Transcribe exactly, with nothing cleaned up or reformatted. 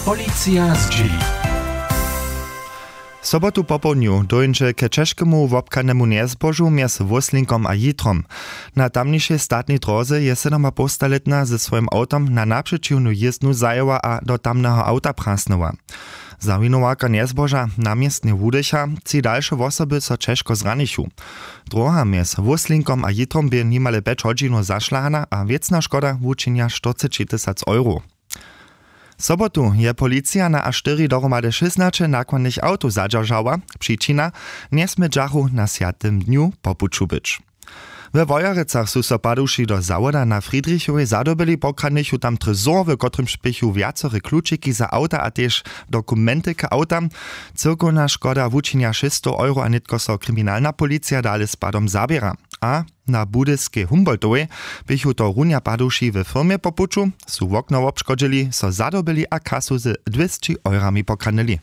Policija zdźěli. Sobotu popołdnju dóńdźe k ćežkemu wobchanemu njezbožu mjez Wóslinkom a Jitrom. Na tamnišej statnej dróze je sydomapołstalětna ze swojim awtom na napřećiwnu jězdnu zajěła a do tamneho awta prasnyła. Zawinowarka njezboža na městnje wudycha, tři dalše wosoby so ćežko zranichu. Dróha mjez Wóslinkom a Jitrom bě nimale pjeć hodźinow zašlahana a wěcna škoda wučinja štyrceći tysac euro. Sobotu je policija na a štyri dohromady šěsnaće nakładnych awtow zadźeržała. Přičina: njesmědźachu na swjatym dnju po puću być. We Wojerecach su so paduši do zawoda na Friedrichowej zadobyli, pokradnychu tam trésor, w kotrymž běchu wjacore klučiki za awta a tež dokumenty k awtam. Cyłkowna škoda wučinja šěsćstow euro a nětko so kriminalna policija dale z padom zaběra. A na budyskej Humboldtowej běchu to runja paduši we firmje po puću, su wokno wobškodźili, so zadobyli a kasu z dwěsći eurami pokradnyli.